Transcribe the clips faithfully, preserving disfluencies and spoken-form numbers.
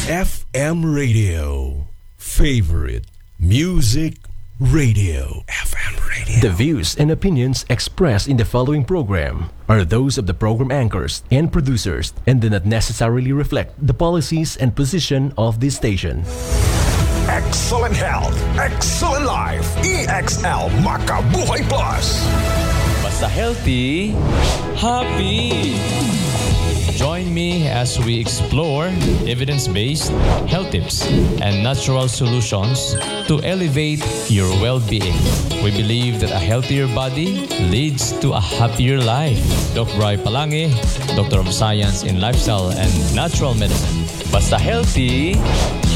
F M Radio. Favorite Music Radio. F M Radio. The views and opinions expressed in the following program are those of the program anchors and producers and do not necessarily reflect the policies and position of this station. Excellent health, excellent life. E X L Makabuhay Plus. Basta healthy, happy. Join me as we explore evidence-based health tips and natural solutions to elevate your well-being. We believe that a healthier body leads to a happier life. Doc Bry Palangi, Doctor of Science in Lifestyle and Natural Medicine. Basta healthy,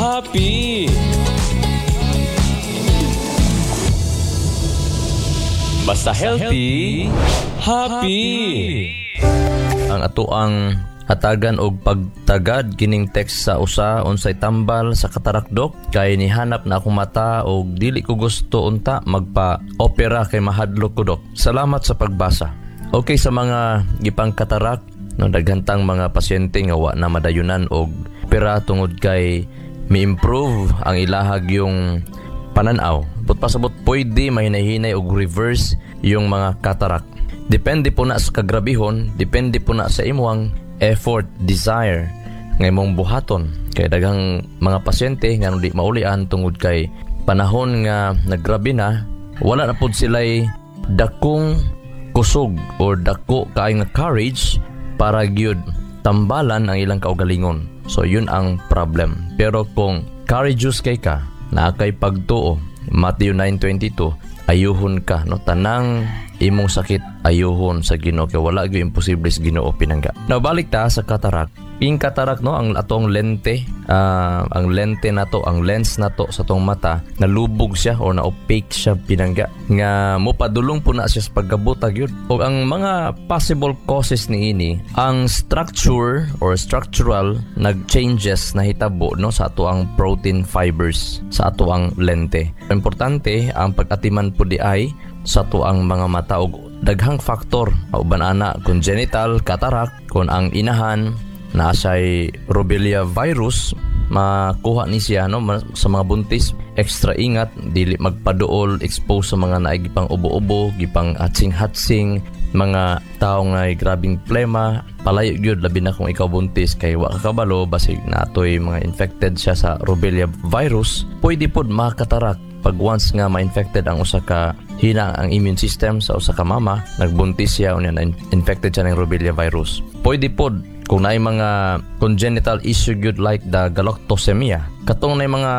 happy. Basta healthy, happy. Ang ato ang hatagan og pagtagad kining text sa usa, "Unsay tambal sa katarak, dok, kay nihanap na akong mata og dili ko gusto unta magpa opera kay mahadlok ko, dok. Salamat sa pagbasa." Okay, sa mga gipang katarak no, daghantang mga pasyente nga wa na madayunan og opera tungod kay mi-improve ang ilahag yung pananaw. But pasabot pwede mahinay-hinay og reverse yung mga katarak. Depende po na sa kagrabihon, depende po na sa imuang effort, desire nga imong buhaton. Kay daghang mga pasyente nga di maulian tungod kay panahon nga naggrabe na, wala na pud sila'y dakong kusog or dako kaay nga courage para gyud tambalan ang ilang kaugalingon. So yun ang problem. Pero kung courageous kay ka, naa kay pagtuo, Matthew nine twenty-two, ayuhon ka no, tanang imong sakit ayuhon sa Ginoo kay wala gyud imposible sa Ginoo, pinangga. Now balik ta sa katarak. Ing katarak no, ang atong lente, ah, ang lente nato, ang lens nato sa atong mata, nalubog siya or na opaque siya, pinangga, nga mopadulong po na siya sa pagkabutag yun. Og ang mga possible causes niini, ang structure or structural nag-changes na hitabo no sa ato ang protein fibers sa ato ang lente. Importante ang pag-atiman po di ay sa ato ang mga mata og daghang faktor uban ana congenital cataract. Kung ang inahan naa siya'y rubella virus, makuha ni siya no. Sa mga buntis, extra ingat, dili magpaduol, expose sa mga naay gipang ubo-ubo, gipang hatsing-hatsing, mga tao nga grabing plema, palayo gyud, labi na kung ikaw buntis kay wa ka kabalo basig naatoy mga infected siya sa rubella virus. Pwede pod makatarak pag once nga ma-infected ang usa ka, hina ang immune system sa usa ka mama, nagbuntis siya unya na infected siya ng rubella virus. Pwede pod kung naay mga congenital issue gyud like the galactosemia. Katong naay mga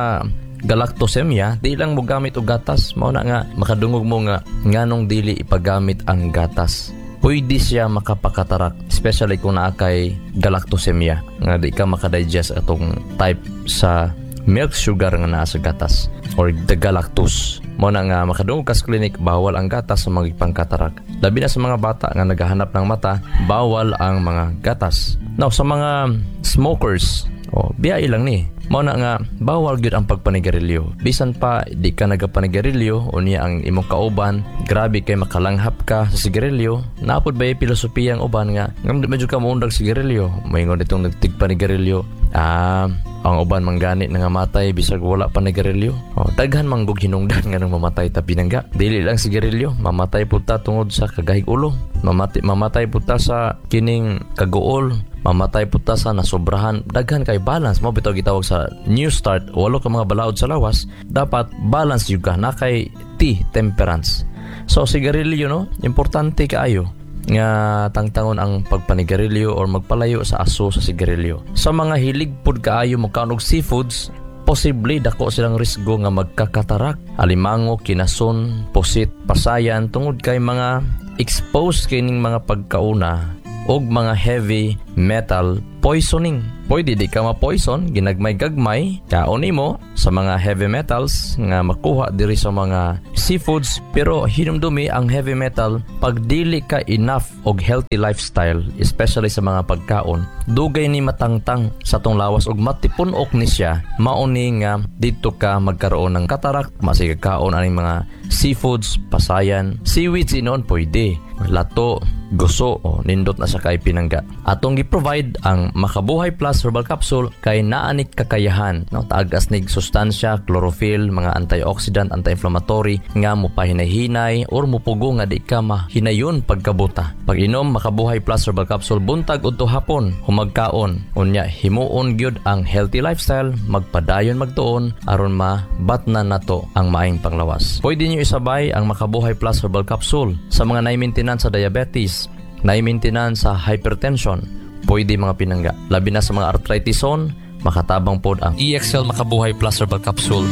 galactosemia, di lang mo gamit og gatas. Mao na nga makadungog mo nga nganong dili ipagamit ang gatas. Pwede siya makapakatarak, especially kung naa kay galactosemia nga di ka makadigest atong type sa milk sugar nga naa sa gatas or the galactose. Mo na nga makadungog ka sa clinic, bawal ang gatas sa mga pangkatarak. Labi na sa mga bata nga naghahanap ng mata, bawal ang mga gatas. Now sa mga smokers, oh, biyai lang ni. Mao na nga bawal gyud ang pagpanigarilyo. Bisan pa di ka nagapanigarilyo unya ang imong kauban, grabe kay makalanghap ka sa sigarilyo. Napod ba yung filosofiya ang uban nga ngam di medyo ka moundag sigarilyo. Moingon itong nagtigpanigarilyo. Ah, ang uban manggani nga matay bisag wala pa nagarilyo. Oh, daghan manggug hinungdan nga nang mamatay ta, pinangga. Dili lang sigarilyo, mamatay pud ta tungod sa kagahig ulo. Mamati, mamatay pud ta sa kining kaguol, mamatay pud ta sa nasobrahan. Daghan kay balance mo bitaw gitawag sa new start, walo ka mga balaod sa lawas, dapat balance yun ka na kay T, temperance. So sigarilyo no, importante kaayo nga tangtangon ang pagpanigarilyo or magpalayo sa aso sa sigarilyo. Sa mga hilig pud kaayo mokaon og seafoods, posible dako silang risgo nga magkakatarak, alimango, kinason, pusit, pasayan, tungod kay mga exposed kining mga pagkauna og mga heavy metal poisoning. Pwede di ka ma-poison, ginagmay-gagmay, kaon nimo sa mga heavy metals nga makuha diri sa mga seafoods, pero hinumdumi ang heavy metal, pag dili ka enough og healthy lifestyle, especially sa mga pagkaon, dugay ni matangtang sa tong lawas og matipun-ok ni siya, mao ni nga dito ka magkaroon ng katarak. Masig kaon aning mga seafoods, pasayan, seaweeds inoon pwede, lato. guso o nindot na sa kay pinangga. Atong gi-provide ang Makabuhay Plus Herbal Capsule kay naa ni kakayahan, no, taag-as nig sustansya, chlorophyll, mga antioxidant, anti-inflammatory nga mopahinay-hinay or mupugo nga di ka mahinayon pagkabuta. Pag-inom Makabuhay Plus Herbal Capsule buntag udto hapon, humagkaon. Unya himuon gyud ang healthy lifestyle, magpadayon magtuon aron mabatna nato ang maayong panglawas. Pwede niyo isabay ang Makabuhay Plus Herbal Capsule sa mga nai-maintenance sa diabetes, nai-maintenance sa hypertension, pwede mga pinangga. Labi na sa mga arthritison, makatabang pod ang E X L Makabuhay Plus Herbal Capsule.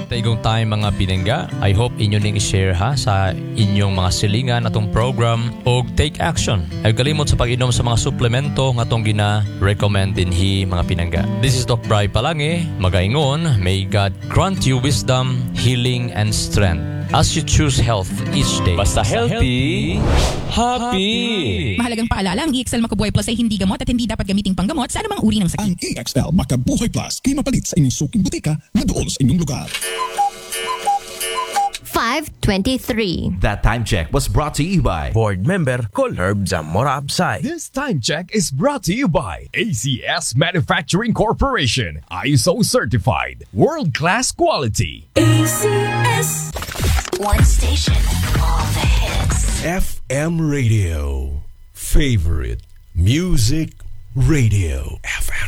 Taigong time mga pinangga. I hope inyo ning i-share ha sa inyong mga silingan atong program og take action. Ay kalimot sa pag-inom sa mga suplemento nga atong gina-recommend dinhi mga pinangga. This is Doc Bry Palange, magaingon, may God grant you wisdom, healing and strength as you choose health each day. Basta healthy, happy. Mahalagang paalala, ang E X L Makabuhay Plus ay hindi gamot at hindi dapat gamiting panggamot sa anumang uri ng sakit. Ang E X L Makabuhay Plus kay mapalit sa inyong suking butika na duol sa inyong lugar. five twenty-three. That time check was brought to you by Board Member Colherb Zamora Absay. This time check is brought to you by A C S Manufacturing Corporation, I S O certified, world-class quality. A C S. One station, all the hits. F M Radio. Favorite Music Radio. F M